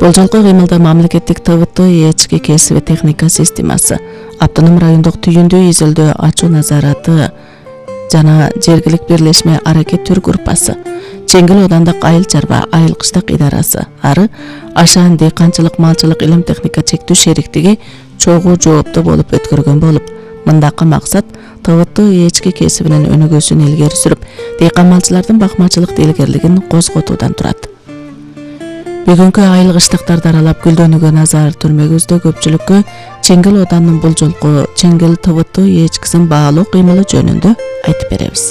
Болжолкой кыймылда мамлекеттик ТВТ ички кесиби техника системасы, автоном райондук түйүндүү изилдөө ачуу назараты жана жергилик бирлешме аракет түр группасы, Чеңгил оодандык айыл чарба айыл кыштак идарасы, ары Ашан дыйканчылык малчылык илим техника чектүү шериктиги чогуу жооптуу болуп өткөргөн болуп, мындакы максат ТВТ ички кесибинин өнүгүүсүн илгери сүрүп, дыйкан малчылардын бакмачылык илгерилигин козготуудан турат. Бүгүнкү айыл кыштыктарды аралап гүлдөнүүгө назар түрмөгүбүздө көпчүлүккө Чеңгил оодандын бул жолку Чеңгил ТВТ ичкисин баалоо кыймылы жөнүндө айтып беребиз.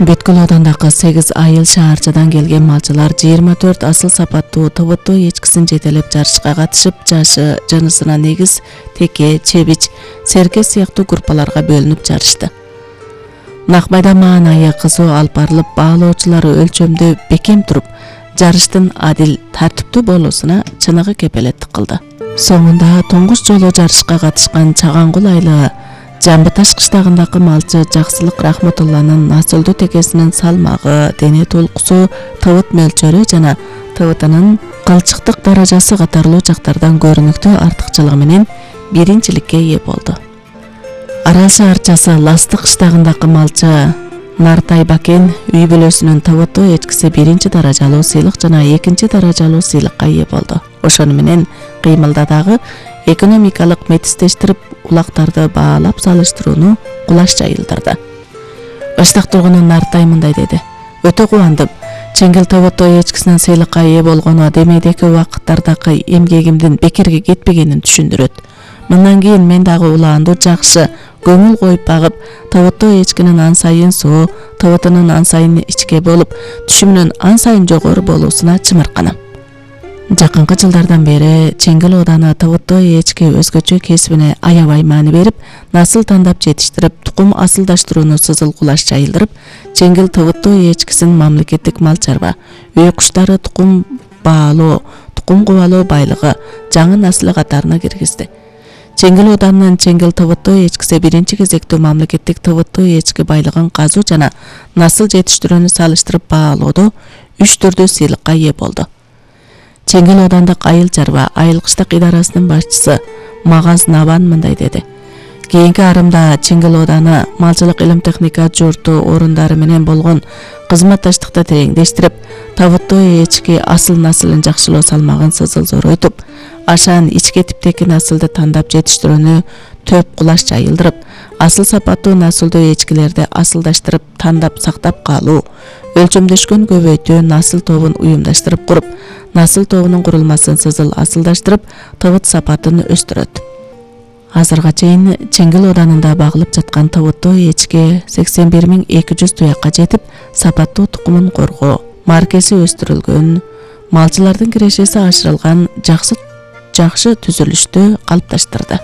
Бүткүл оодандагы 8 айыл шаарчадан келген малчылар 24 асыл сапаттуу ТВТ ичкисин жетелеп жарышка катышып, жашы, жынысына негиз теке, чебич, серке сыяктуу группаларга бөлүнүп жарышты. Нак майдан маанайы кызуу алып барылып, баалоочулары өлчөмдө бекем туруп, жарыштын адил, тартиптүү болуусуна чыныгы кепелеттик кылды. Соңунда туңгуч жолу жарышка катышкан Чагангул айылы Жамбыташ кыштагындагы малчы Жаксылык Рахматулланын насылдуу текесинин салмагы, дене толкусу, тыбыт мөлчөрү жана тыбытынын кылчыктык даражасы катарлуу жактардан көрүнүктүү артыкчылыгы менен биринчиликке ээ болду. Арал шаарчасы Ластык кыштагындагы малчы Нартай Бакен үй бүлөсүнүн ТВТ ичкиси биринчи даражалуу сыйлык жана экинчи даражалуу сыйлыкка ээ болду. Ошону менен кыймылда дагы экономикалык метистештирип, улактарды баалап салыштырууну кулаш жайылдырды. Ыштык тургуну Нартай мындай деди: "Өтө кубандым. Чеңгил ТВТ ичкисинин сыйлыкка ээ болгону демейдеки убакыттардагы эмгегимдин бекерге кетпегенин түшүндүрөт. Мындан кийин мен дагы улаанду жакшы көңүл коюп багып, ТВТ ичкинин ан сайын суу, ТВТнын ан сайын ичке болуп, түшүмүнүн ан сайын жогору болуусуна чымырканам." Жакынкы жылдардан бери Чеңгил ооданы ТВТ ички өзгөчө кесибине аябай маани берип, насыл тандап жетиштирип, тукум асылдаштырууну сызыл кулаш жайылдырып, Чеңгил ТВТ ичкисин мамлекеттик мал чарба, үй куштары тукум баалоо, тукум кубалоо байлыгы, жаңы насылы катарына киргизди. Чеңгил оодарынын Чеңгил ТВТ ичкиси биринчи кезектүү мамлекеттик ТВТ ички байлыгын казуу жана насыл жетиштирүүнү салыштырып баалоодо 3 түрдүү сыйлыкка ээ болду. Чеңгил оодандык айыл чарба айыл кыштак идарасынын башчысы Магаз Набан мындай деди: "Кийинки арымда Чеңгил ооданы малчылык илим техника журту орундары менен болгон кызматташтыкты тереңдештирип, ТВТ ички асыл насылын жакшылоо салмагын сызыл зоройтуп, Ашан ичке типтеки насылды тандап жетиштирүүнү төп кулаш жайылдырып, асыл сапаттуу насылдуу ичкилерди асылдаштырып, тандап сактап калуу, өлчөмдөшкөн көбөйтүү насыл тобун уюмдаштырып куруп, насыл тобунун курулмасын сызыл асылдаштырып, тыбыт сапатын өстүрөт." Азырга чейин Чеңгил оодарында багылып жаткан ТВТ ички 81200 туякка жетип, сапаттуу тукумун коргоо, маркеси өстүрүлгөн, малчылардын кирешеси ашырылган жакшы түзүлүштү калыпташтырды.